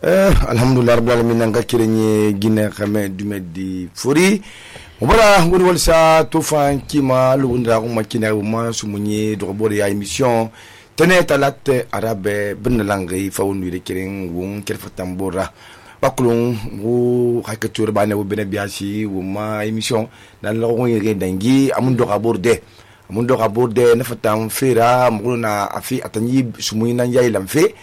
alhamdulillah rabbil alamin nanga kirenye gine xame dume di fori mubara ngoni walsa to fan kima lu ndra ko makina ma sumunye do bore ya émission tene talat arabe bin langi fawnu de kiren won kerfa tambora bakulun wo hakatur bane wo bene biasi wo ma émission dan la ko yere dangi amun do aborde na fatam fera muna afi atanyi sumuyi nan yayi lamfe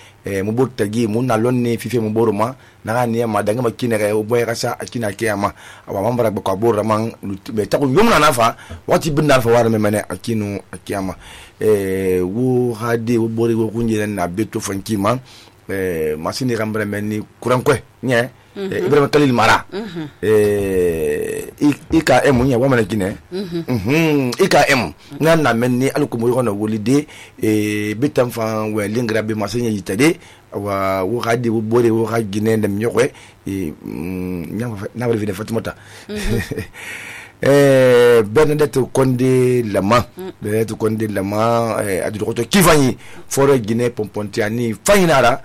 mubur tagi munna lonne fife muboruma na ne ma danga makine re o boy rasa akina kiyama awa mambara ba ko bor man be takun yumna nafa wati bindal fa wara memene akinu akiyama wo hadi wo bori wo kunje na beto fankima masini rambra menni kurankwe nye Ibrahim Khalil Mara IKM nya wa mana kine IKM na menni alkumo yono wolide bitam fa we lingra be masanya yitade wa wo hadi wo bore wo hagine ndam nyokwe na wala vide Fatimata Bernadette Konde Lama adu ko to kifani foro Guinée Pompontiani fainara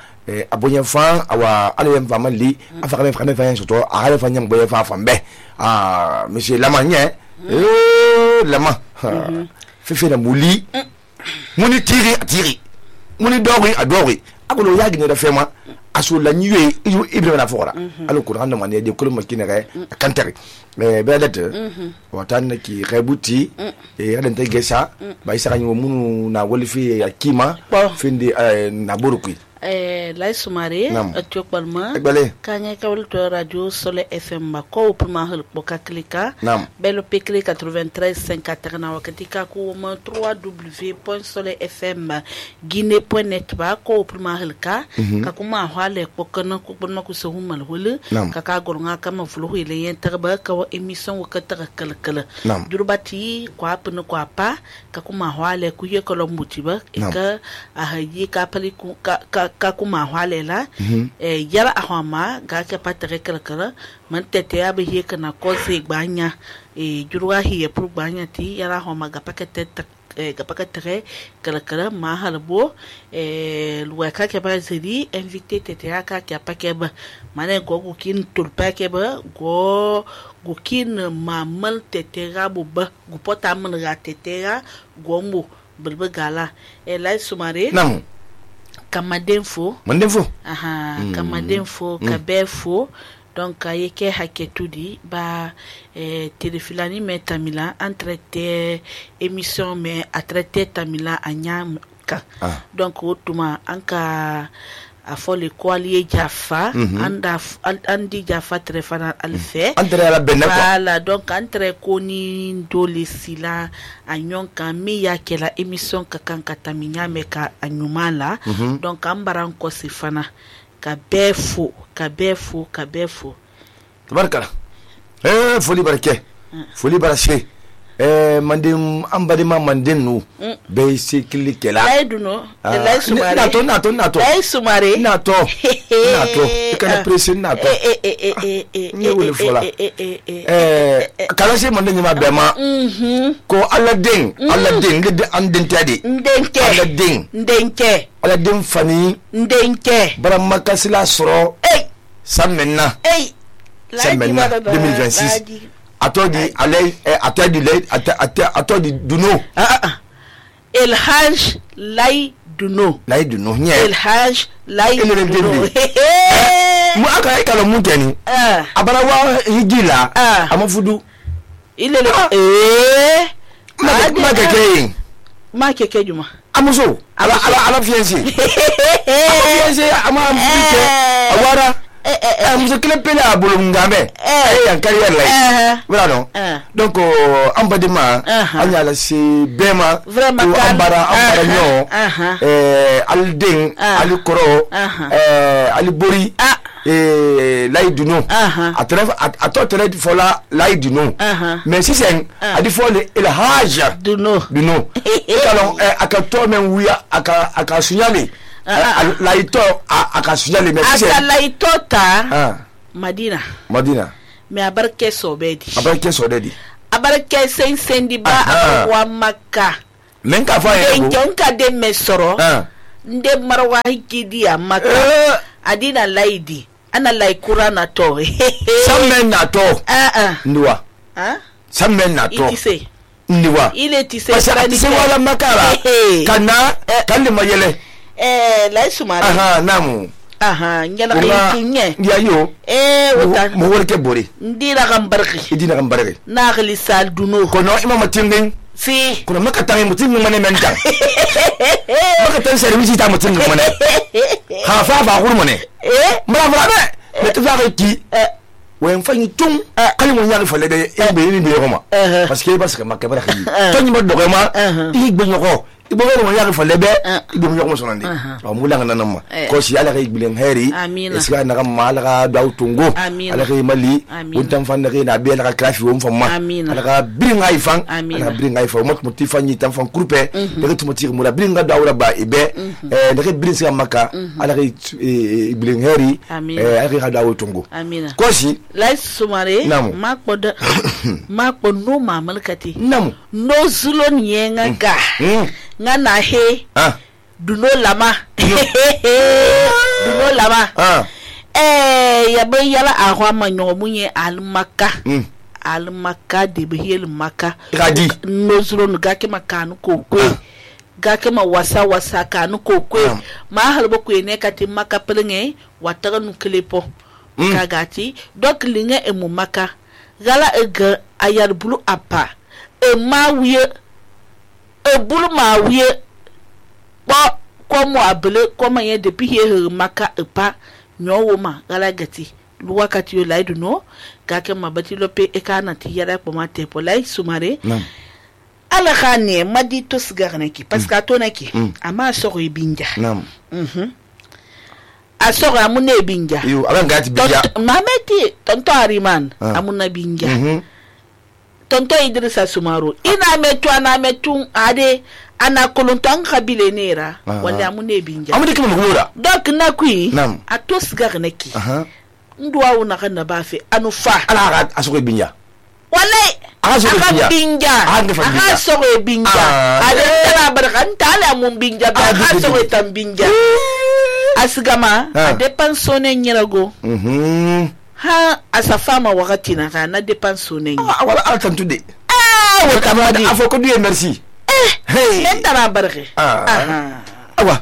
abonya fan awa alem famali afaka me fan soto ala fanyam boye fa fambe monsieur Lama nye Lama fefe na muli muni tiri muni dori adori akolo yagi ne da fema aso la nyue Ibrahim na fora alo ko hande man de ko makine re kantere Bernadette watan ki rebuti adan te gesa ba isa kanyo munu na wolifi akima finde na borukui Lai Sumare atiok balma kanya kawal to radio Sole FM ba ko puma hel boka klika belo pekle 93.5 na wakati ka ko ma 3w.solefm guinée.net ba ko puma hel ka kuma hwale ko kana ko bonma ko so humal hol ka golnga kama fulu ile yen tarba ka wa emission ka kala durbati ko apna ko apa ka kuma hwale ku ye ko lo mutiba ka a hayi ka pali ku ka kuma hwalela yara ahwama ga ke patre kala man tete ya be kana ko se gbanya jurwa hiye pour gbanya ti yara ahwama ga pakete kala ma halbo luwa ka ke ba zedi invité tete ya ka ke pakeba mane go kin tulpa ke ba go kin mamal tete ga bu ba gu pota man ga tete ga go mbo bilbe gala Lai Sumare Kamadenfo Kamadenfo Kabefo donc yeke haketudi ba telefilani me tamila entrete émission me a traité tamila anyam ka donc otuma anka afole kwali Jaffa andi Jaffa trefana alfe entre la benako voilà donc entre koni ndole sila anyonka mi yake la émission kakanka taminya meka anyumala donc ambaran ko sifana kabefo tabarkala foli barake mandem ambadima mandenu be sikili kela aiduno Lai Sumare Lai Sumare nato ikana presi nato ni wole fola kala se mandem ma bema ko Aladdin de andentade Aladdin fani barama kasila soro samenna 2026 atodi Duno El Haj Lai Duno nye El Haj Lai Duno mu aka ikalo muteni abara wa higila amafudu ile ma keke juma amuso ala fiancé ama amfike awara muso kile pele abulu ngambe yan carrière la voilà donc ambadima anyala si bema ambara nyo alding alikoro alibori Lai Duno atotre fola Lai Duno mais si c'est adi fole El Haj Duno kalon akato men wiya aka sunyale laito akasunyale mais si c'est laito ta Madina mais abarke sobedi abarke sensendi ba wa Makka men ka fa nka de mesoro nde marwa hikidi ya Makka adina laidi ana laikura na to samen na to ndiwa samen na to itise ndiwa ile tise tise wala makara kana kalli mayele lai sumare namu nyala kinye ya yo wata mo worke bori ndira gambarki idina gambarki na gali sal duno kono imama tingin si kuna makatang mutin mane menta makatang service ta mutin mane ha fa ba huru mane mara me to fa ki wen fanyi tung kali mo nyari fale de be ni roma parce que makabara ki to ni mo do ma ti gbe nyoko ibo mo nyari fale be ibo nyoko mo sonandi o mulanga nanama ko si ala kay bilen heri iska na kam mala ga daw tungo ala kay mali wontam fan na na be ala ka krafi won famma ala ka birin ay fan ala birin ay fa mo ti fanyi tam fan groupe de to mo ti mo la birin ga dawra ba ibe de ke birin sa makka ala kay bilen heri ala kay daw tungo ko si lai sumare mako no mamalkati namu no zulon yenga ga ngana he duno lama duno lama ya be yala ahwa manyo munye almaka almaka de behel maka radi no zulon ga ke makanu kokwe ga ke ma wasa kanu kokwe ma halbo ku ne kati maka pelenge wataga nu klepo kagati donc linga e mu maka gala ega ayar bulu apa e mawiye e bulu mawiye ko mo abele ko ma ye depuis he maka e pa nyowo ma gala gati luwakati yo laidu no gake mabati lope e kana ti yara ko ma tepo lai sumare ala khane madi to sigarne ki parce que to naki ama so ko binja asoro amune binja yo abangati binja mameti tonto ariman amuna binja tonto Idrissa Sumaro ina metu ade ana kolontan kabile nera wala amune binja amune kima ngura donc nakui atos garneki ndwa una kana bafe anufa ala asoro binja wala asoro binja ade tana barkan tala mun binja ba asoro tambinja asigama a dépensonné nyirago ha asa fama wakati na kana dépensonné wala altantude wata madi afoko dieu merci mentara barke awa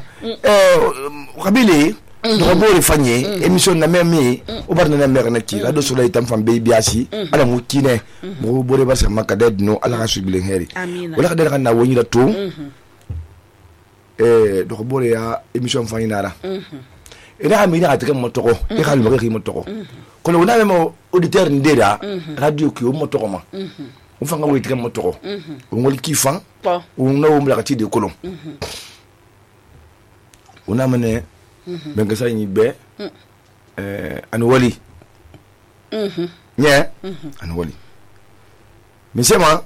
kabile do bore fanye émission na memi o barna na mère na ki la do soleil tam fam be biasi ala mu kine mo bore ba sa makade no ala ka subile heri wala ka de kana woni da to do bore ya émission fanye nara ina amina atake motoko e ka lumo ke motoko kono na memo auditeur ndera radio ki o motoko ma o fanga wo itike motoko o ngol ki fan o no o mla ka ti de kolon ona mane benga sa ni be an wali nya an wali misema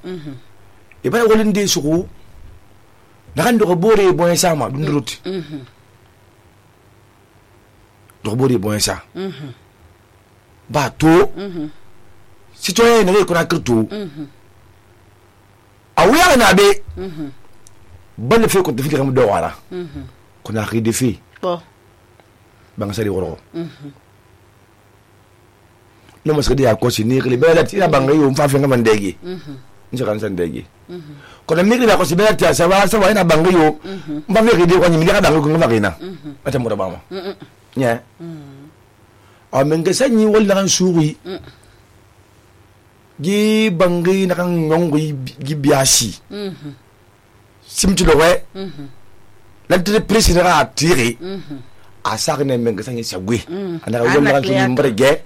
e ba wali ndi suku na kan do bore boy sama dunduruti do bore boy sa ba to citoyen ne ko na kirto awuya na be ban fe ko defi kam do wala ko na xidi fi bang sari woro no mas kadi ko si ni kli bela ti bang yo fa fe ngam ndegi nje kan san ndegi ko na migri ko si bela ti sa wa ina bang yo mba fe kidi ko ni mi ka bang ko ngam ina ata mo da ba mo nya a menga sanyi wala kan suri gi bangi na kan ngongi gi biasi simtu do we l'entrée précédente a tiré a sarne menga sanyi sagwe ana yo ma kan mbrege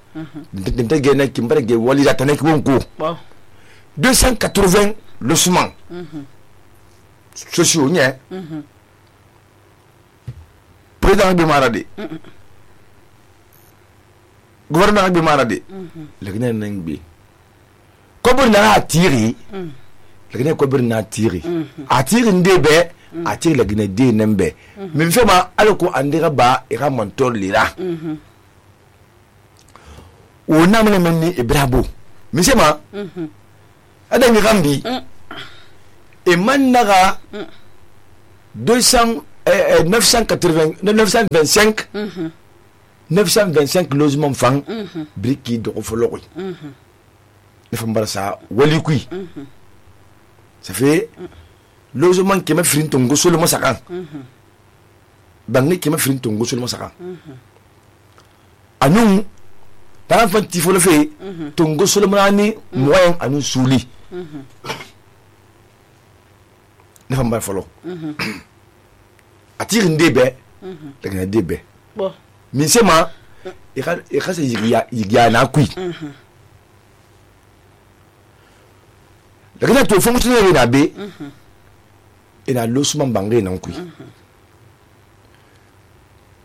dinte ge na kimbrege wali da tanek wonko 280 logements sociaux nya président bi maradi gouvernement bi maradi legene nang bi ko bur na atiri legene ko bur na atiri atiri ndebe atiri legene de nembe min fema alko andira ba ira montol lira o namne menni ibrabo min sema ada ni gambi e mannaga 925 925 logements fang briki do fologui ne fam barasa wali kui ça fait logement qui m'a frin tongo solo mo sakan bangi qui m'a frin tongo solo mo sakan anu tan fanti fo le fe tongo solo mo ani moyen anu souli ne fam bar folo atire ndebe daga ndebe bon min sema e khasa yigiya na kui daga to fonctionnaire na be ina losman bangai nan kui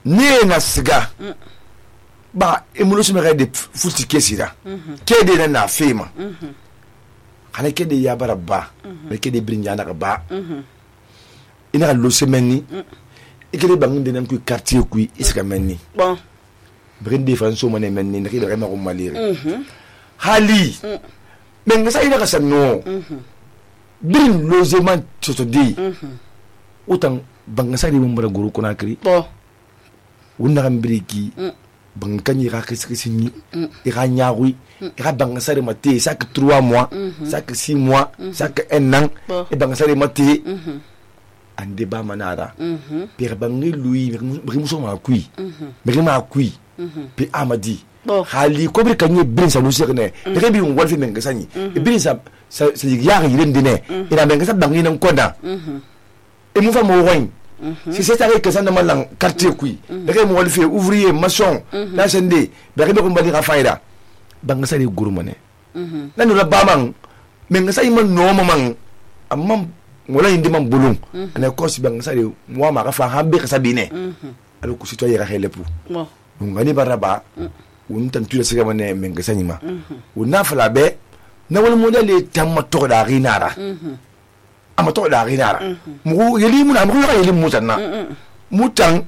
ne na siga ba emulosu me de futi kesira kede na fema kana kede ya baraba me kede brinya na ba ina losemeni ikele banginde nan kui quartier kui iska menni bon brinde franso mane menni ne kede ma ko malire hali men ngasa ina kasano bin logement totodi utan bangasa ni mbara guru kuna kri bon wonna kan briki bankanyi ka kisikisini ira nyawi ira bangasa de mate chaque 3 mois chaque 6 mois chaque 1 an e bangasa de mate ande ba manara pere bangi lui brimuso ma kui brima kui pe amadi hali ko bir kanye bin sa lusi ne de bi on wolfi men gasani bin sa yari yirendine ina men gasa bangi nan koda e mu fa mo woin si c'est avec que ça ne malang quartier kui de mo wolfi ouvrier maçon la sende be ko mbali ka faida banga sa de gurumane nanu la bamang men gasa iman no mamang amam wala indi man bulung ana ko si banga sa de mo ma ka fa hambe ka sabine alo ku sito yera helepu bon ngani baraba un tantu la siga mane men gasa ni ma una fala be na wala modele tamma to da rinara ama to da rinara mu yeli mu na mu yeli mu tanna mutan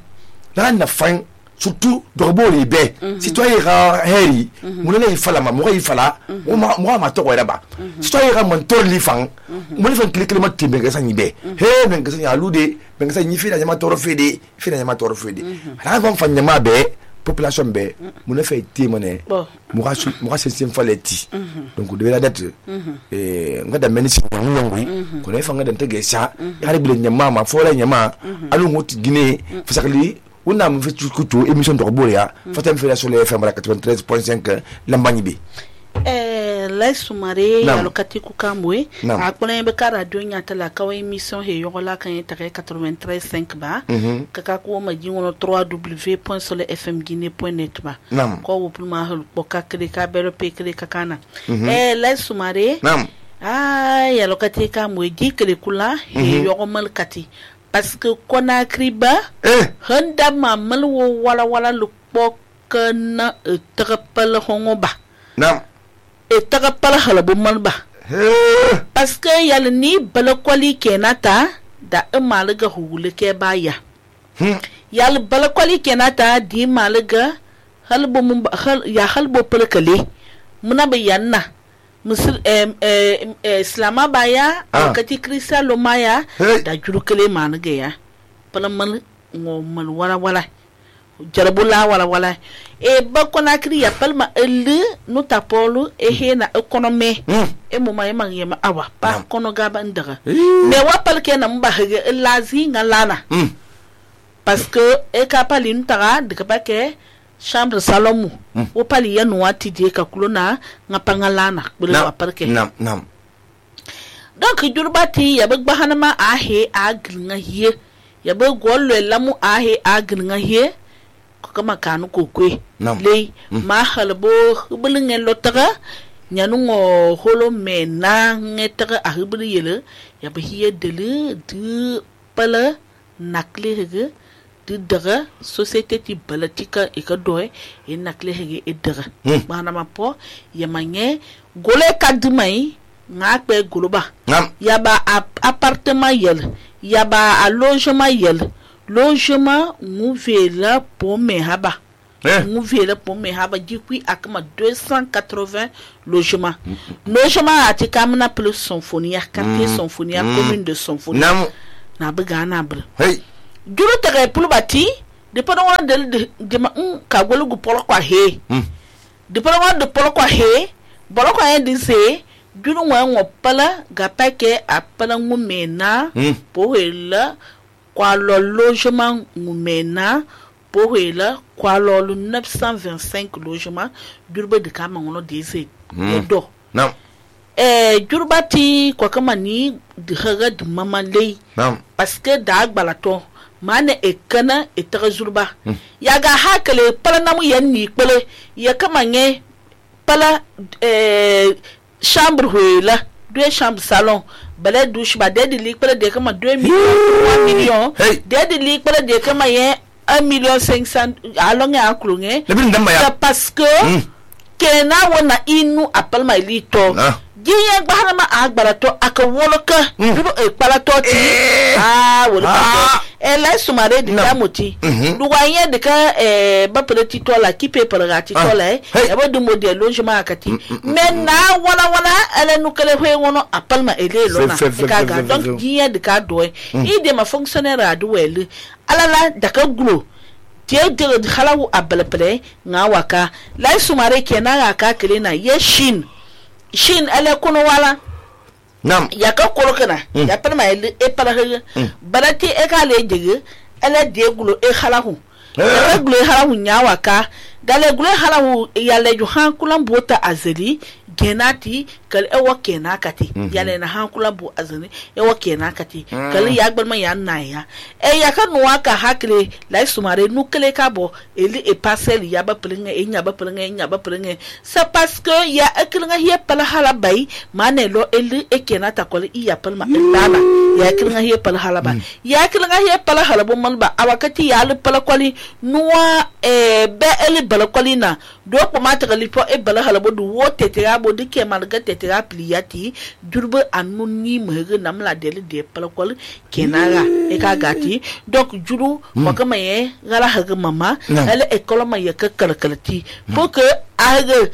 na fan surtout dorboli be citoyen ra heri mu le fala ma mu fala mu ma to wala ba citoyen ra man to li fan mu le fan klikle ma timbe gasa ni be he men gasa ya lude men gasa ni fi da ma toro fede ala kon fan ma be population be mu ne fait témoigner mu ga sensim faleti donc de la date ngada menisi ngongwi ko ne fa ngada tege sa ya bile nyama ma fo la nyama alu ngoti guinée fasakli wona mu fi kutu émission de Boria fatam fi la sur le FM 93.5 lambani bi la sumare ya lokati ku kamwe akpone be ka radio nyata la ka émission he yola kan yetare 93.5 ba kaka ko ma jingono www.solefmguinee.net ba ko wo pluma hol boka kre ka bero pe kre kakana la sumare ya lokati kamwe dikre kula he yogo mal kati parce que Conakry ba handa mamal wo wala lu bokana trapal hongo ba e taga pala halabu malba parce que yal ni bala kwali kenata da malaga hule ke baya yal bala kwali kenata di malaga halbu mun ya halbu palkale muna bayanna musul islama baya wakati krista lo maya da jurukale managa ya pala mal ngomal wala jarabula wala e ba Conakry ya palma ele no tapolo e hena economy e mo mai mangema awa pa kono gaba ndaga me wa palke na mba hege lazi ngalana parce que e ka pali ntara de ka ke chambre salomu o pali ya no wati je ka kulona ngapangalana bula wa palke nam donc jurbati ya ba hanama ahe aglinga hier ya ba gollo lamu ahe aglinga hier kama kanu kokwe le ma halbo bulungen lotaga nyanu ngo holo mena ngetaga ahibri yele ya bahiye dele de pala nakle hege de daga société ti balatika e ka doy e nakle hege e daga bana ma po ya manye gole kadmai ngakbe goloba ya ba appartement yele ya ba logement yele logement mouvela pour mehaba mouvela pour mehaba dikui akama 280 logements logement atikamna plus symphonie quartier symphonie commune de symphonie na begana br hey juro tere pour bati de pa wa de ma ka golu gu polo kwa he de pa wa de polo kwa he bolo kwa en dise juru wa ngo pala ga pake apala ngumena po hela kwa lo logement ngumena po hela kwa lo 925 logement durba de kama ngono dise do non jurbati kwa kama ni de haga de mama lei parce que da gbalato mane ekana etara zurba yaga hakale pala namu yanni pele ya kama nge pala chambre huela 2 chambres salon balai douche ba de lik pala de kama 2 millions 3 millions de lik pala de kama ye 1,5 million alonge akulunge parce que kena wona inu apalma ilito giye gbarama agbarato aka woloka dubo ekpalato ti woloka la sumare di damoti duwaye de ka ba peleti tola ki paper gati tola e ba du model logement akati men na wala ele nukele hwe wono apalma ele lona ka ga donc giye de ka do ide ma fonctionnaire adu wele alala daka glo tie de khalawu abalpele nga waka la sumare kenan aka kele na ye shin ele kono wala nam ya ka kolokana ya palma ele e pala barati e ka le jege ele de gulo e khalahu e gulo e khalahu nyawa ka dale gulo e khalahu ya le ju han kulan bota azeli genati kal e wakena kati ya le na han kulan bu azeli e wakena kati kal ya gbalma ya naya e ya ka nuwa ka hakle la sumare nukele ka bo eli e parcelle ya ba plinga e nya ba plinga c'est parce que ya eklinga hiya pala hala bay manelo eli e kenata kol iya palma elana ya eklinga hiya pala hala ba ya eklinga hiya pala hala bo man ba awakati ya le pala koli nuwa be eli bala koli na do ko mata gali po e bala hala bo du wote te ya bo dike malga te te ya pliati durbe anuni mege namla dele de pala koli kenara e ka gati donc juru ko kama ye gala haga mama ele école ma ye ka kalkalati pour que age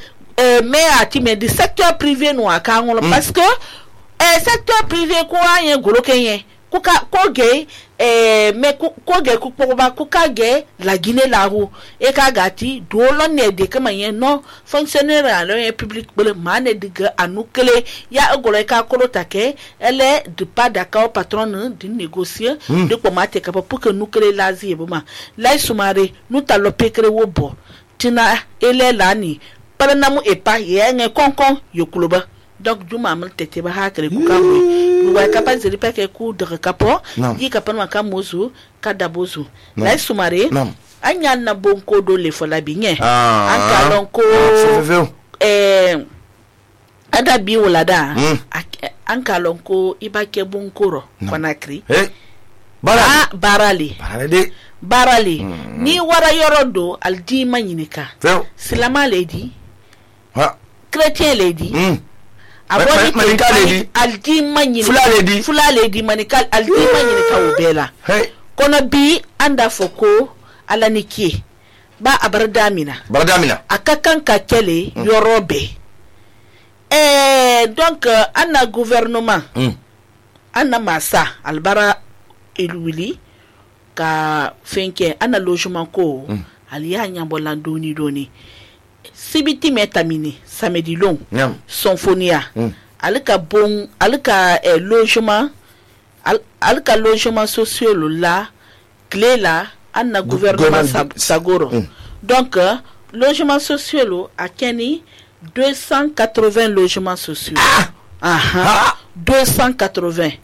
mais ati mais du secteur privé no aka ngolo parce que secteur privé ko ayen golo kenye ko ge mais ko ge ko ba ko ka ge la Guinée la ro e ka gati do lo ne de kama ye no fonctionnaire à le public bele mane diga anukele ya golo ka ko take ele de pas d'accord patron de négocier de comment te capable pour que nous créer l'asie boma la sumare nous talope créer wo bo tina ele lani para namu epa ye nge konkon yokuloba donc juma mal tete ba hakre ku kamwe luwa kapaz de peke ku de kapo yi kapan ka mozu ka dabozu la sumare anya na bonko do le fola binye an kalonko ada bi wolada an kalonko ibake bonkoro konakri barali ni wara yorodo aldi manyinika silama lady chrétien lady aboni manika lady aldi manyinika fula lady manika aldi manyinika ubela kono bi anda foko alaniki ba abardamina akakan ka kele yorobe donc anna gouvernement anna masa albara elwili ka fenke ana logement ko aliya nyambola doni sibiti metamini samedi long symphonia alika bon alika logement alika logement social la clé la ana gouvernement sagoro donc logement social a keni 280 logements sociaux 280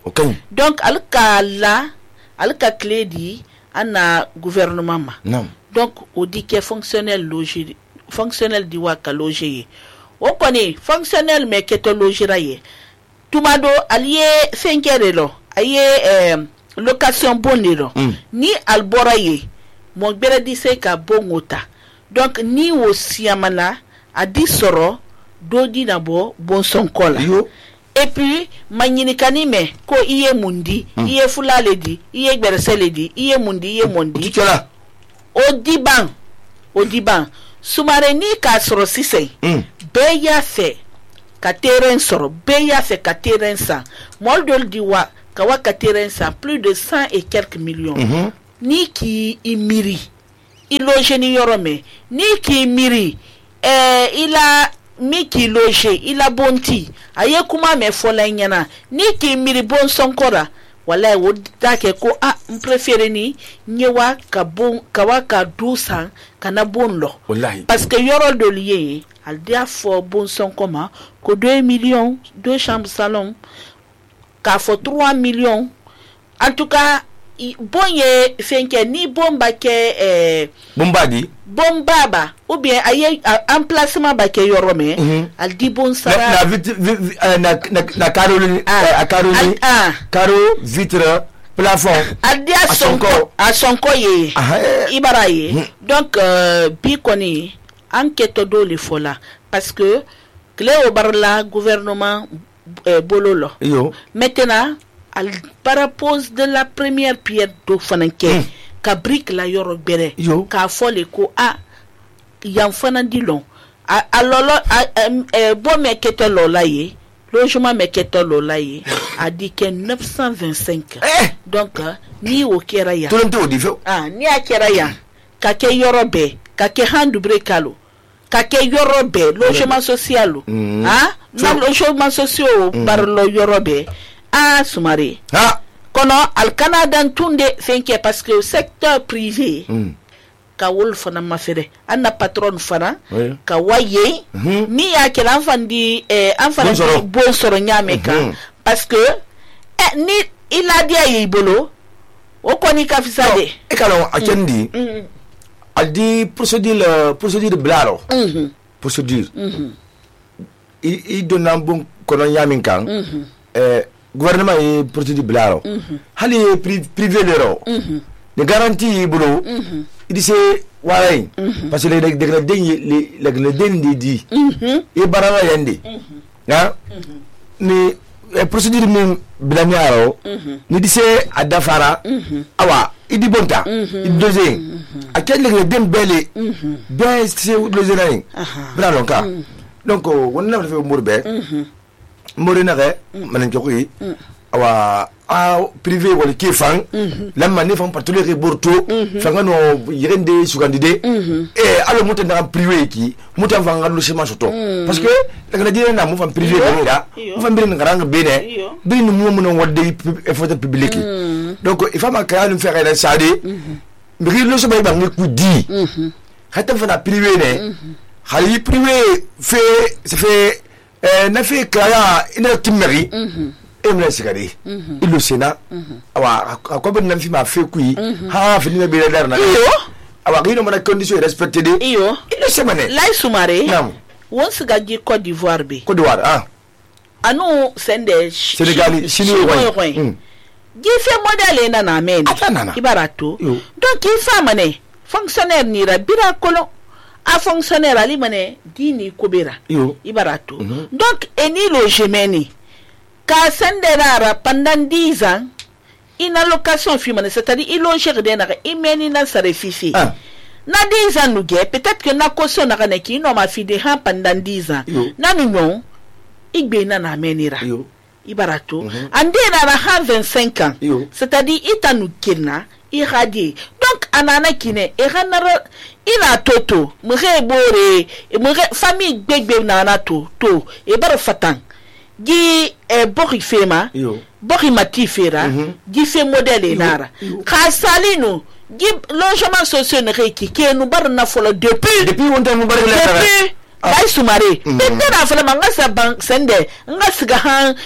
donc alka clé di ana gouvernement ma donc on dit que fonctionnel di waka loger o koni fonctionnel mais que to logera ye tumado allié 5 heures aye location bonero ni albora ye mo bere di se ka bongota donc ni wo siamana a di soro do di nabo bon son kola et puis manyinikani me ko iye mundi iye fulale di iye gberesele di iye mundi odiban sumare ni ka soro sise beya fe ka terrain soro beya fe ka terrain sa moldol diwa ka wa ka terrain sa plus de 100 et quelques millions ni ki imiri loge ni yɔrɔ mɛ ni k'i miiri ila mi k'i loge ila bonti a ye kuma mɛ fɔla i ɲɛna ni k'i miiri bon sɔnkɔra wala wo da kɛ ko n préféré ni nye wa ka du san kana bon lɔ parce que yɔrɔ dɔ ye al dia fɔ bon sɔnkɔ ma ko 2 millions 2 chambres salon k'a fɔ 3 millions en tout cas bon ye fɛnkɛ ni bon ba kɛ bon baba ou bien aye emplacement ba kɛ yɔrɔ mɛ al di bon sara na karo vitre plafond al dia sonko ye ibara ye donc bi kɔni an kɛtɔ dɔ le fɔ la parce que tile o barila gouvernement bolo lɔ maintenant al parapose de la première pierre do fana kɛ ka brique la yɔrɔ gbɛrɛ k'a fɔ le ko yan fana di lɔn a lɔlɔ bon mɛ kɛtɔ lɔ la ye logement mɛ kɛtɔ lɔ la ye a di kɛ 925 donc ni o kɛra yan ni a kɛra yan ka kɛ yɔrɔ bɛɛ ka kɛ handubre kalo ka kɛ yɔrɔ bɛɛ logement social na logement social barilo yɔrɔ bɛɛ Sumare kono al Canada tunde fenke parce que secteur privé ka wol fana mafere anna patron fana ka waye ni ya ke l'enfant di bon soro nyame ka parce que ni il a dit ay bolo o koni ka fisade e kala akendi al di procédure blaro procédure i donna bon kono nyame kan gouvernement ye procédure blaro hali privé lero de garantie bolo il dit ouais parce que le den dit e barana yande ha ni procédure min blamiaro ni dit adafara awa idi bonta idi doze akel le den bele ben c'est le zenain bralo ka donc wonna fa morbe morina re manan jokoyi awa privé wala kifan lamma ne fam patule re borto fanga no yirende sugandide alo mutan da privé ki mutan fanga lo chema soto parce que daga dina na mu fam privé ko da mu fam birin ngaranga bene birin mu mun wadde effort public donc il faut ma créer une faire la sade mbiri lo so bay ba ngi ku di hatta fana privé ne hali privé fait ça fait na fait kaya ina timeri emna sigari ilo sena awa akobe na fi ma fait kui ha fi ni be der na awa gino mana condition respecté de ilo semane lay Sumare won siga ji Côte d'Ivoire anu sende Sénégal chinois gi fait modèle na men ibarato donc il fa mané fonctionnaire ni ra bira kolo a fonctionnaire ali mané dini kobera ibarato donc eni logement ka sendera pendant 10 ans une allocation fumane c'est-à-dire il loge de na imeni na sarefifi na 10 ans nous peut-être que na caution na kaneki no ma fi de ha pendant 10 ans na non igbe na na menira ibarato ande na 25 ans c'est-à-dire itanu kina iradi donc anana kine eranara ina toto mure bore mure famille gbegbe na na to e bar fatan gi bori fema bori mati fera gi fe modèle nara khasalino gi logement social ne ki ke nu bar na folo depuis on t'a bar la Lay Sumare bende na fala manga sa bank sende nga siga han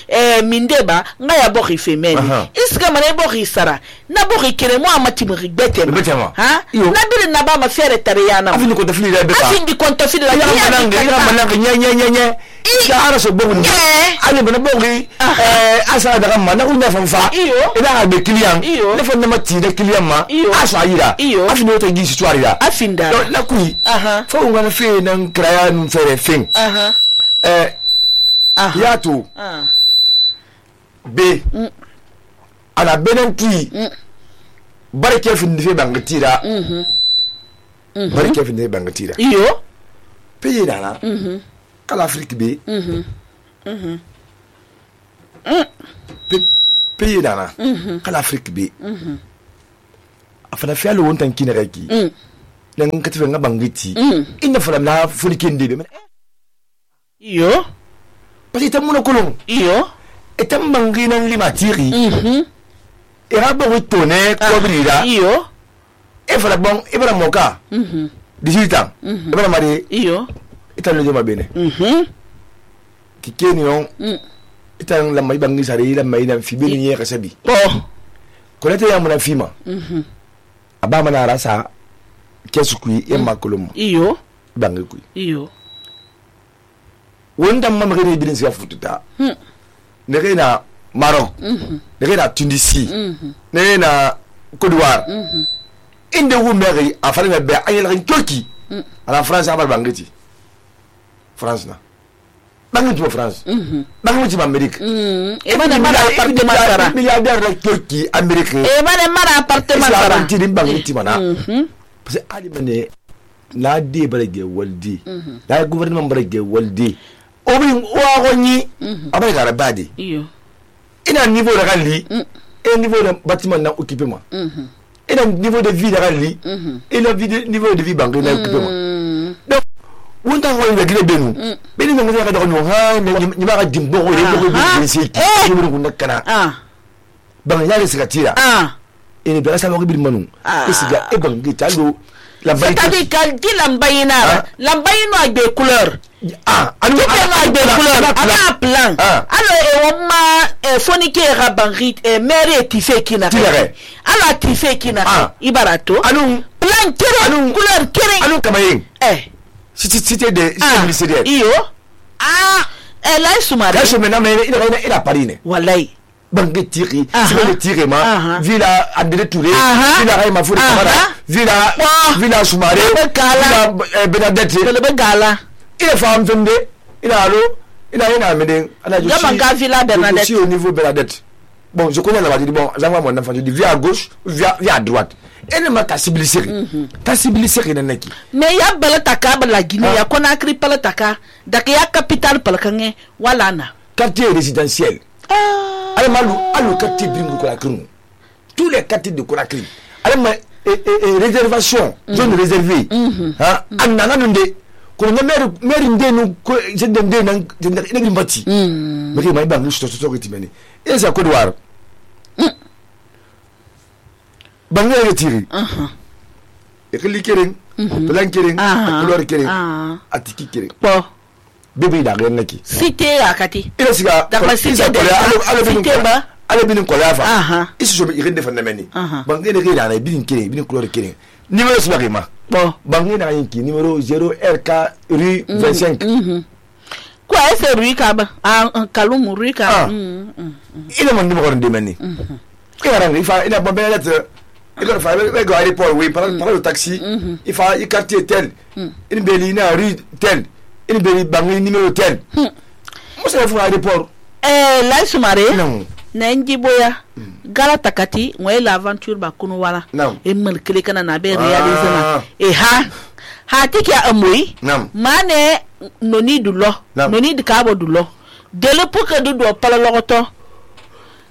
mindeba nga ya bori femeni iska mane bori sara na bori kere mo amati mo rigbete ha na bire na ba ma fere tariyana afini ko tafili da beka afini ko tafili la ya mananga nya ya ara so bobu ale bana bogi asa daga mana unya fanfa ina be client le fon na mati de client ma asa yira afini o to gi histoire ya afinda la kui fo ngana fe nan kraya nun fere fin yato be ana benen tui barke fin de bangatira barke fin de bangatira iyo pays dana kala Afrique be pays dana kala Afrique be afana fialo wontan kinere ki nan katife nga bangiti inda fala na fulikende be iyo parce que tamuno kolon iyo etam bangi nan limatiri era bo tone ko brira iyo e fala bon ibra moka 18 ans ibra mari iyo italo joma bene kikeni on itan la mai bangi sare la mai nan fibini ye kasabi ko lete ya muna fima aba mana rasa kesukui e makolum iyo bangi kui iyo wonda mamma gene bidin siya fututa ne na Maroc ne na Tunisie ne na Côte d'Ivoire inde wu meri afari be ayel rin Turquie ala France abal bangiti France na bangi to France bangi to Amerique e mana mara appartement sara milliardaire la Turquie Amerique e mana mara appartement sara ti din bangi ti mana parce que ali mane la de barage waldi la gouvernement barage waldi obin wa gonni abay gara badi iyo ina niveau de rallye et niveau de bâtiment na occupé moi ina niveau de vie de rallye et le niveau de vie banque na occupé moi donc wonta ko ngi gele benu beni nga nga da no ha ni ma ga dimbo ko le ko ci ni mo ko nakana ban ya le sikatira ene bela sa mo bi manu isiga e bangi talo la bayi c'est-à-dire quand dit lambayina lambayino a des couleurs anu a des couleurs ana plan alors on ma fonike rabanrit mere tife kina ala tife kina ibarato anu plan kere couleur kere anu kamayin cité de ministériel iyo la sumare kaso mena ina parine wallahi banque tiri c'est le tiré ma villa André Touré villa Raima Fouri Kamara villa Soumaré villa Benadette le Bengala il est femme femde il a allo il a une amène Gamanga villa Bernadette aussi au niveau Bernadette bon je connais la dit bon j'envoie mon enfant je dis via à gauche via à droite et ne m'a ta civilisé nanaki mais ya bala taka la Guinée ya Conakry pala taka dak ya capitale pala kange wala na quartier résidentiel allez malou allo quartier bingu ko la kunu tous les quartiers de Conakry allez réservation zone réservée anana nde ko na maire ndenu ko jende ndenu ndenu mbati mais mai bangu sto kitimeni et ça Côte d'Ivoire bangu retiri et que likering plan kering couleur kering atiki kering bon bébé da ren naki cité akati ila siga da cité de cité ba ale binin kolafa isu so be irinde fanameni bangu ne rira na binin kering binin couleur kering numéro subakima bon bangu na yinki numéro 0RK rue 25 quoi c'est rue kaba Kalum rue kaba il mon numéro de meni il fa il a bon ben lettre il fa le go aéroport oui par le taxi il fa il quartier tel une belina rue tel une beli bangu numéro tel moi c'est le aéroport la sumare non na njiboya gala takati ngwe l'aventure ba kunu wala e mal kele kana na be réaliser na e ha tiki amui mane noni dulo noni de kabo dulo de l'époque de do pala logoto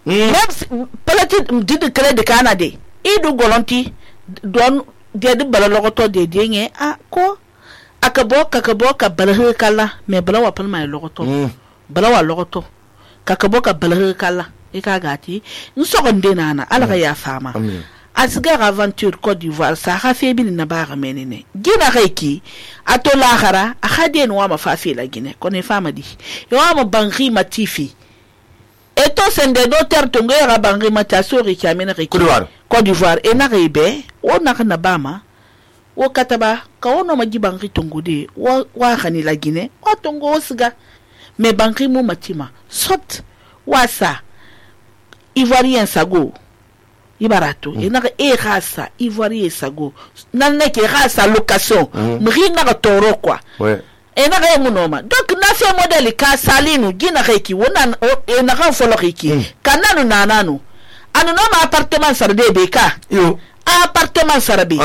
même palati de kele de Canada e du golonti don de bala logoto de nge ko akabo ka bala kala me bala wa palma logoto bala wa logoto kakabo ka bala kala e ka gati nsogonde nana ala ya fama asgar aventure Côte d'Ivoire sa rafe bin na ba menene gina reiki ato lahara akade no ma fafi la Guinée kone fama di yo ma bangi matifi eto sende do tertongo ya bangi matasori kamena reiki Côte d'Ivoire e na rebe o na kana bama o kataba ka ono maji bangi tongode wa khani la Guinée o tongo osga me bangi mu matima sot wasa Ivoirien sago ibarato enaka rasa Ivoirien sago naneke rasa location mrina ka toro kwa enaka emunoma donc na fait modèle ka salinu gina reki wona enaka folo reki kananu nananu anu no ma appartement sarde beka yo appartement sarbe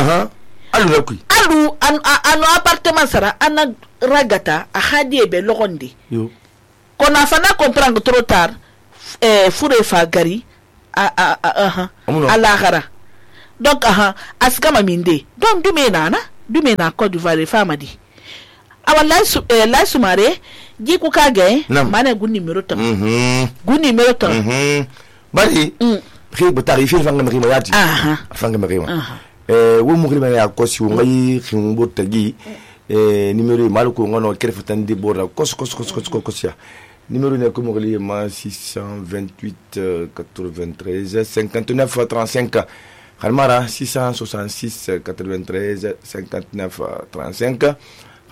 alu rakui anu appartement sara ana ragata a khadie be logonde yo kona fana comprendre trop tard fure fa gari a l'akhara donc askama minde donc dume nana dume na Côte d'Ivoire fama di awa la sumare ji ku ka ge mana gu numéro tam gu numéro tam bari xi ba tarifi fanga mari yati fanga mari wo mu grima ya ko si ngai ximbo tagi numéro mal ko ngono kerfatan di borda kos ya numéro ne ko mo li ma 628 93 59 35 Almara 666 93 59 35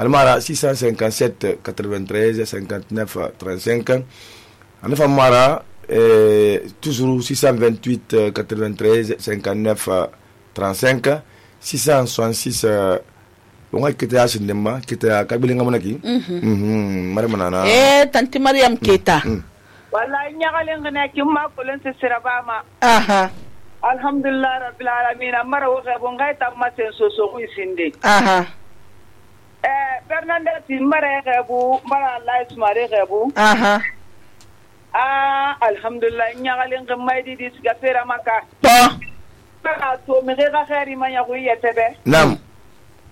Almara 657 93 59 35 Anafa Mara toujours 628 93 59 35 666 on a kita asinema kita kabilinga monaki Mariamana tanti Mariam Keita wallahi nyagalenga na kimma kulen se sirabama alhamdulillah rabbil alamin amara wo gabo ngai tamma sen so ku isinde Fernandez mare gabo mara Allah ismare gabo alhamdulillah nyagalenga maydi dis gafera maka to me ga khairi man ya ku yetebe nam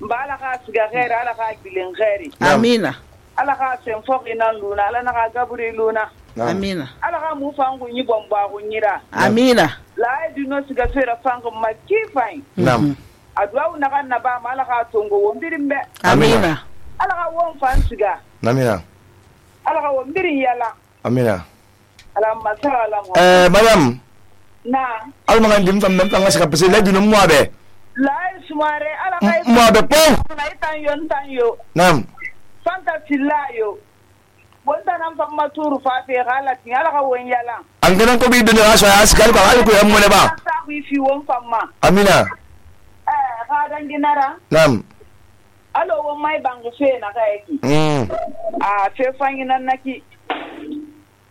mbala ka siga khairi ala ka bilen khairi amina ala ka sen fokina luna ala na ka gaburi luna amina ala ka mu fangu nyi bomba ku nyira amina la du no siga fera fangu makifain nam adwa na kan na ba mala ka tongo wondirimbe amina ala ka won fan siga amina ala ka wondiri yala amina ala masala madam na alma ndim fam même tanga saka pese la dinu moabe la sumare ala ka moabe po na tan yo nam fanta tilayo wonta nan fam maturu fa fe galati ala ka won yala an ganan ko bi dinu asa askal ba alko yam mo ne ba ta wi fi won famma amina ka dan dinara nam alo won mai bangu fe na ka yaki fe fangi nan naki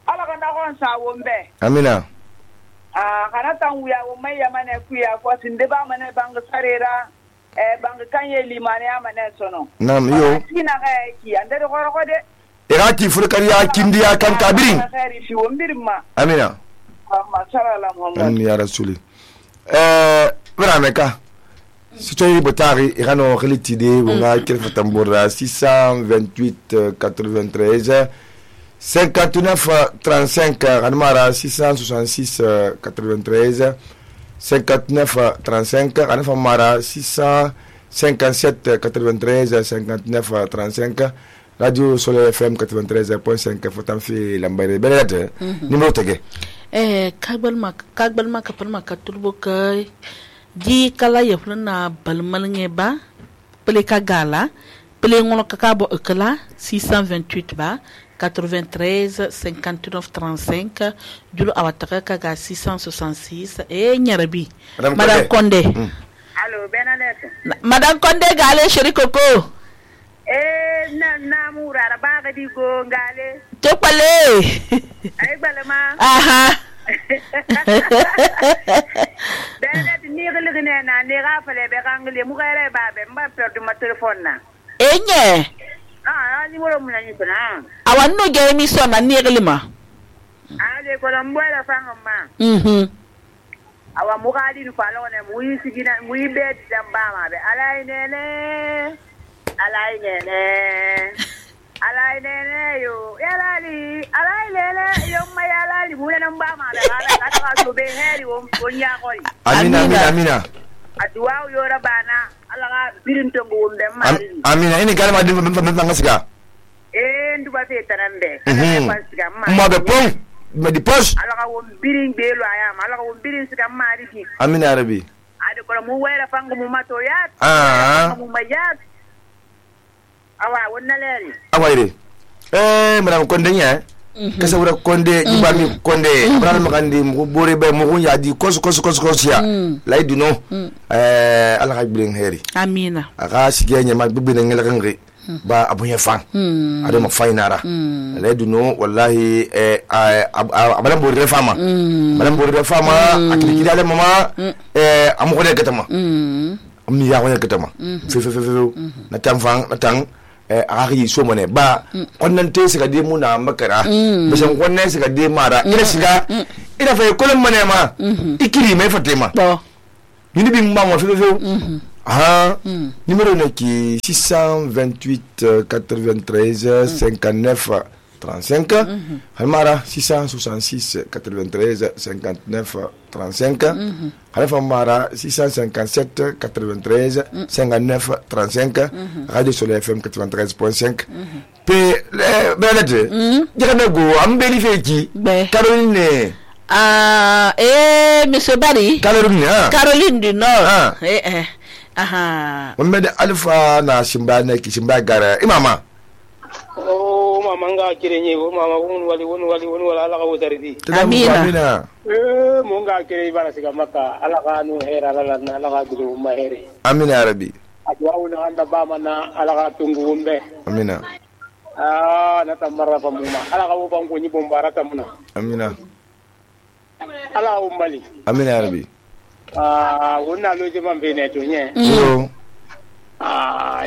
ala ka na kon sa won be amina kana tan wuya won mai yamane kuya ko sinde ba mane bangu sarera bangu kanye limane amane sono nam yo kina ka yaki ande ko ko de irati furkariya kindiya kan kabirin fi won birma amina amma sallallahu muhammad ya rasuli Verameka Sitoyi Botari Irano Relitide Wunga Kelfa Tambora 628 93 59 35 Ranmara 666 93 59 35 Ranfa Mara 657 93 59 35 Radio Soleil FM 93.5 Fotanfi Lambere Belete numéro tege kagbal ma kapal ma katurbo kai ji kala yefna balmalnge ba pele kagala pele ngono kakabo ekala 628 ba 93 59 35 julo awataka kaga 666 nyarabi madame Konde allo Benadette madame Konde gale chéri coco na murara baga di go ngale topale ay balama Benadette ni gele na ni rafale be gangle mu gere babe mba perdu ma telephone na enye ni woro mu na ni bana awanno ge mi so na ni gele ma ale ko lambo la fanga ma awa mu gadi ni falo ne mu yi sigina mu yi be damba ma be alai nene yo yalali alai lele yo mayalali mule namba ma da ala ka so be heri won nya koi amina adwa yo rabana ala ga birin to ngum dem mari amina ini kalma dim fam ngasiga ndu ba fe tanande pasiga ma be pon me di pos ala ga won birin be lo aya ala ga won birin siga mari ki amina arabi ade ko mu wera fangu mu mato yat mu mayat awa wonna leri awaire madame Konde nya kasa wura Konde jibami Konde abral makandi mu bore be mu ya di kos ya lay duno ala ka bilen heri amina aka sige nya ma bibi ngela kangi ba abunya fan ado ma fainara lay duno wallahi abalam bore fama akili kidale mama amu ko de katama amni ya ko de katama fe na tamfang na tang akaki so mone ba konnan te siga de muna makara bisan konnan siga de mara ina siga ina fa kolon mane ma ikiri mai fatema yini bin ma mo fe Ah, numéro qui 628 93 59 35. Halmara 666 93 59 35. Halmara 657 93 59 35. Radio Soleil FM 93.5. Pe belade. Jere go am vérifier qui Caroline. Monsieur Barry. Caroline du Nord. On met Alpha na Simba na ki Simba gara. Imama. Oh mama nga kirenye mama wali ala ka wosaridi. Amina. Mo nga kire bara siga maka ala ka nu hera ala ka dudu ma here. Amina Arabi. Adwa una anda ba mana ala ka tungu umbe. Amina. Na tamara pa muma ala ka wo bango ni bombara tamuna. Amina. Ala umbali. Amina Arabi. Wonna loje man be ne to nye.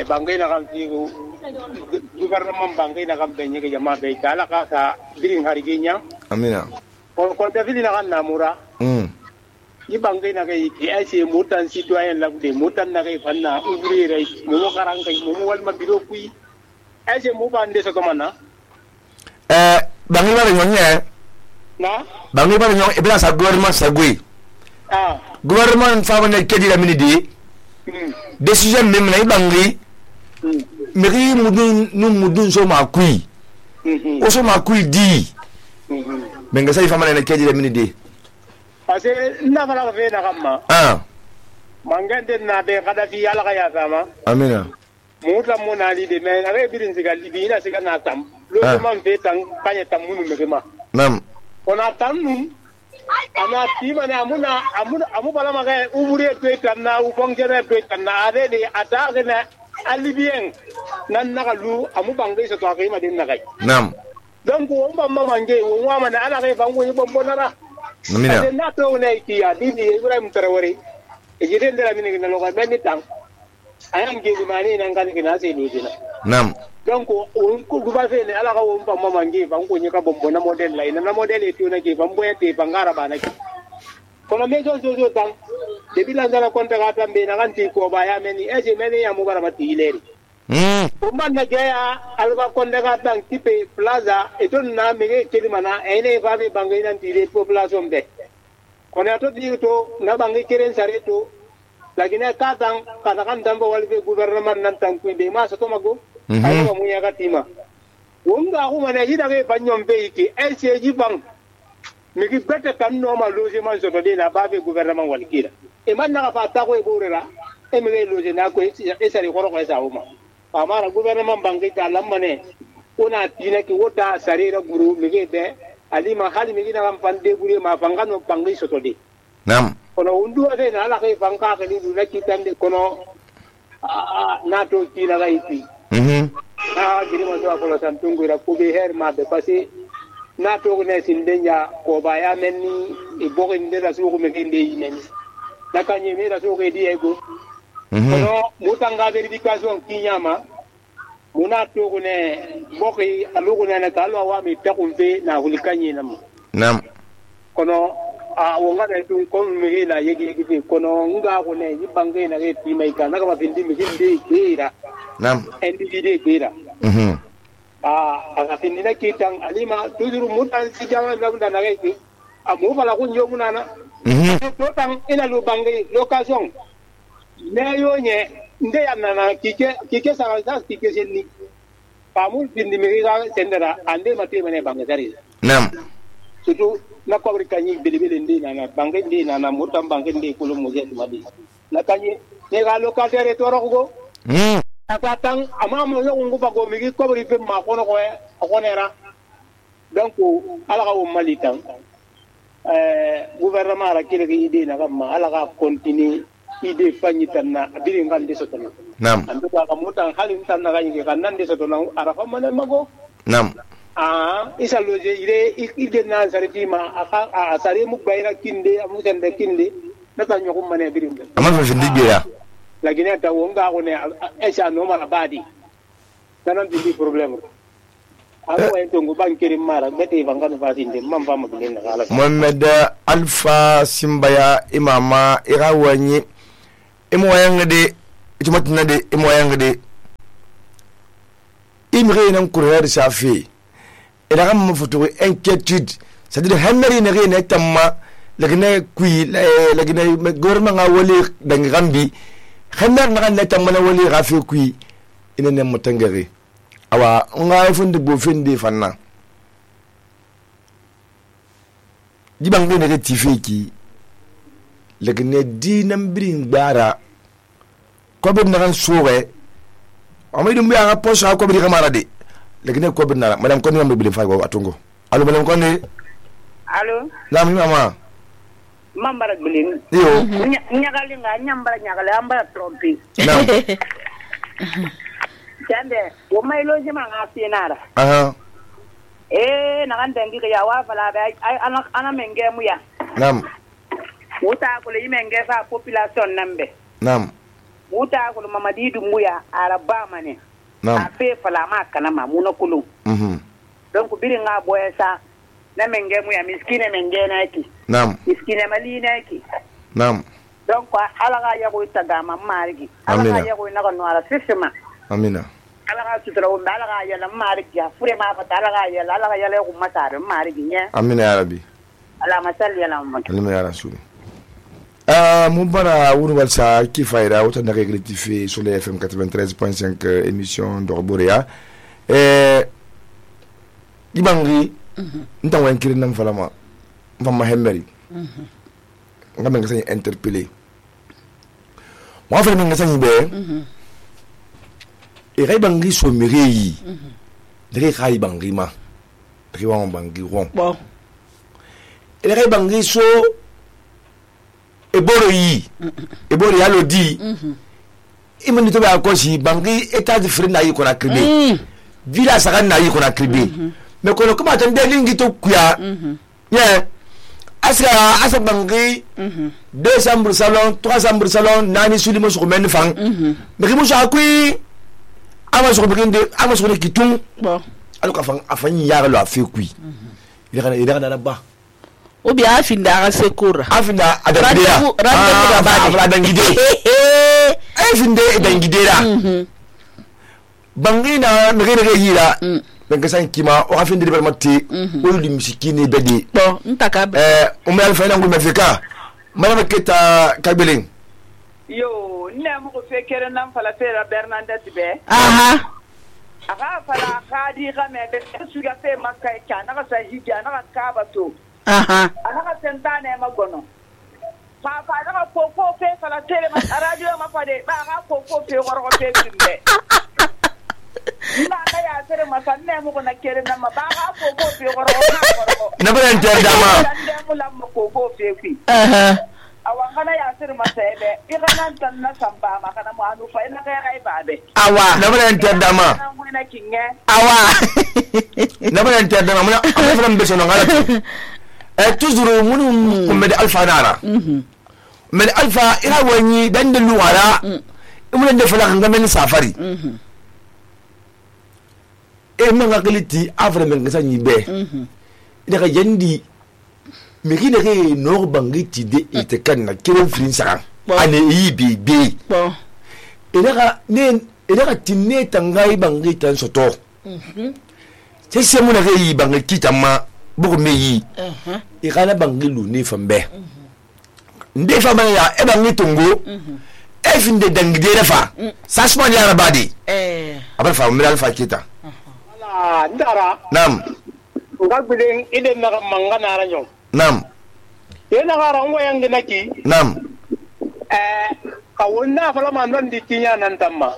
Bangai na kam tigo gouvernement bangai na kam benye ke jama be kala ka sa biring hari genya. Amina. Ko da fili na kan namura. Ni bangai na kai ki ai se mutan citoyen la de mutan na kai fanna ouvrier ai mo karan kai mo wal ma biro kui. Ai se mo bande so komana. Bangai ba nyonye. Na? Bangai ba nyonye e bla sa gouvernement sa gui. Gouvernement fa wona kedi la minidi. Décision même na ibangi. Meri mudun so ma kui. O so ma kui di. Benga sai famana na kedi la minidi. Parce na fala ka fe na kamma. Mangande na be kada fi ala ka ya sama. Amina. Muta mona li de me na re birin siga libi na siga na tam. Lo man fe tan kanya tam munu me ma. Nam. Ona tam nu ana tima na amu bala maga ubure to na u fongere to na ade de ata na alibien nan na lu amu bangai so to kai ma din na kai. Nam. Donc on ba mange on wa mana ala kai bango ni bombo na. Amina. Na to ne ki ya di Ibrahim Traore. E jide ndela mini na lo ga ben tan. Ayam ge mani nan kan kina sai do dina. Nam. Donc on ko guba fe ne ala ka on ba mange bango ni ka bombo na model la ina na model e tuna ke bambo e te bangara bana ki. Kono me jo tan de bilanga na konta ka tambe na kan ti ko ba ya meni e je meni ya mu bara mati ileri. Man na gaya alba konda ka tan tipe plaza e ton na me ke mana e ne fa be bangai nan ti le population be. Kono to di to na bangai keren sare to lagina ka tan kana kan dambo walbe gouvernement nan tan ku be ma so to mago. Ayo mu ya katima. Wonga ko mana hida ke banyon be ki LCG bang. Mi ki bete kan no ma logement so de na ba be gouvernement walkira. E man na fa ta ko e borera. E mi le loge na ko e sari ko ko sa uma. Amara gouvernement bangi ta lamane. Ona tina ki wota sari ra guru mi ke de ali ma hali mi na kan pande gure ma fangano bangi so de. Nam. Kono undu ade na la ke fanga ke ni na ki tande kono na to tina ga iti. Giri mo to ko san tungu ra ko be her ma be pase na to ne sindenya ko ba ya menni e bogo inde da su ko me kinde yinen na kanye me da su ko di ego kono mutanga verification kinyama muna to ko ne bogo alugo ne na kalo wa mi ta kunfe na hulikanye nam nam kono wonga da tu ko me la yegi kono nga ko ne yibange na ke ti mai kana ka ba bindi mi kinde kira nam individu kira akafindina kitang alima tujuru mutan sijama labda na kai amu fala kunjo munana to tang ina lu bangai location ne yo nye nde yana na kike sa kike senni pamu bindi mi ga sendera ande mate mane bangai dari nam sutu na ko kanyi bilibili ndi na bangai ndi na mutan bangai ndi kulum muje madi na kanyi ne ga locateur to rogo Atang amamo yo nguba go migi ko ri pe ma kono ko e akonera donc ala ka malitan gouvernement ra kile ki ide na gamma ala ka continue ide fanyi tanna biri ngande sotona nam ando ka mutan halin tanna ga yige kan nande sotona arafa man mago nam isa loje ide na sariti ma aka sare mu bayra kinde amu sende kinde na tanyo ko mane biri ngande amma fa findi ya lakini hata wonga kone esha no mara badi tanan di problem ako en tongo bankiri mara beti bangano fasinde mamfa mabinen kala Mohamed Alpha Simbaya imama irawanyi imo yangade itu matna de imoyang de imri nan coureur safi ila gam foto inquiétude c'est-à-dire hamari ne ne tamma lagna kui lagna gouvernement nga wali dang gambi hamar na ne tamma na wali rafi kui ina ne mutangari awa nga funde bo finde fanna dibang ne tifiki lagna dinam birin bara ko be na soore amay dum ya posa ko be kamara de lagna ko be na madame ko ni am be fa go atungo allo madame ko ni allo la mi mama mambara bilin yo nyagali nga nyambara nyagali ambara trompi na jande wo may lo jima nga finara na kan dangi ya wa fala ba ana menge mu ya nam wuta ko le menge fa population nambe nam wuta ko mamadi du mu ya araba mane nam ape fala ma kana ma muna kulu donc biri nga boyesa na menge mu ya miskine menge na ki nam miskine mali na ki nam donc ala ga ya ko tagama marigi ala ga ya ko na ko no ala sisima amina ala ga sutra o ala ga ya la marigi ya fure ma fa ala ga ya la ko matare marigi nya amina ya rabbi ala masalli ala muhammad alima ya rasul Moubara Ouroubalsa qui faira autant de rectifier sur les FM 93.5 émission d'Orborea. Ibangri, nous avons écrit dans Falama, nous avons Hemberi. Nous avons interpellé. Moi, je vais vous dire, et Ibangri so mirei, de Ibangri ma, de Ibangri ron. Bon. Et Ibangri so eboro yi eboro ya lodi imani to ba akosi bangi état de frère na yi ko na kribe villa sagan na yi ko na kribe mais kono kuma tan de lingi to kuya yeah asa bangi 2 chambres salon 3 chambres salon nani sulimo so men fang mais mo sa kui ama so beginde ama so kitung bon alo ka fang afani ya lo afi kui ira na ba ou bien afinda a sekura afinda adangidera adangide afinda adangidera bangina ngere yira bengasan kima o afinda de bermati o li misikini bedi bon ntaka o me alfa ngul mafika madame Keta Kabelin yo ne mo ko fekere nam fala fera Bernadette be aga fala khadi ga me be su ga fe makka kana ga sa hija na ka ba to anaka sentane magono papa anaka koko fe fala tele ma radio ma pade ba ka koko fe goro fe timbe ina ka ya tere ma sanne mo ko na kere na ma ba ka koko fe goro ina ba enter dama sanne mo la mo koko fe fi awa kana ya tere ma sebe irana tan na samba ma kana mo anu fa ina ka ya ba be awa na ba enter dama awa na ba enter dama mo na mbe sono ngala toujours munu kumede alfa nara men alfa ila wani dan da luwara mun da fala kan men safari men ngakiliti afre men gasan yibe ida ka yandi me kine ke no bangiti de ite kan na kiran fin saka ane yibi bi ida ka tinne tangai bangitan soto sai sai mun ga yi bangiti tamma buku meyi ikana bangilu ni fambe nde fama ya e bangi tungo e finde dangidere fa sasman ya rabadi abal fa umira alfa kita ala ndara nam ngagbele ide na mangana ranyo nam yena gara ngo yang dinaki nam kawonna fala man non di tinya nan tamma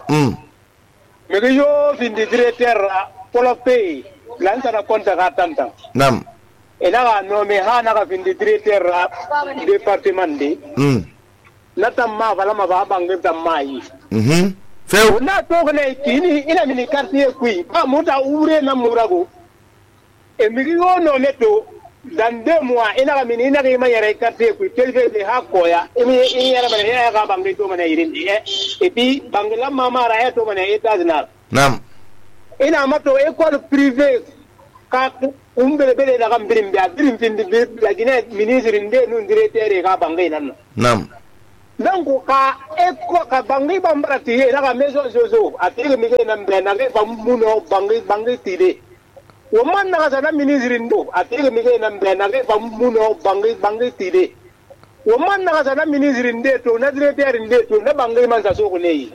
mege yo finde directeur polo pay lanta na konta ka tanta nam ina no me ha na ka finde directeur département de na tamma fala ma ba bangi tamma yi feu na to ne kini ina mini quartier kui ba muta ure na murago e mi yo no neto dans 2 mois ina ka mini ina ka ma yare quartier kui telfe de ha koya imi yara bale ya ka bangi to mana irin e puis bangla mama ra to mana etazna nam ina mato école privée ka umbele bele da kam birim finde la gine ministre inde nun directeur ka bangi nan nam donc ka eko ka bangi bambara tiye na ka maison zozo atire mi ke na mbena ke bamuno bangi tide wo man na ka na ministre ndo atire mi ke na mbena ke bamuno bangi tide wo man na ka na ministre ndeto na directeur ndeto na bangi man sa so ko nei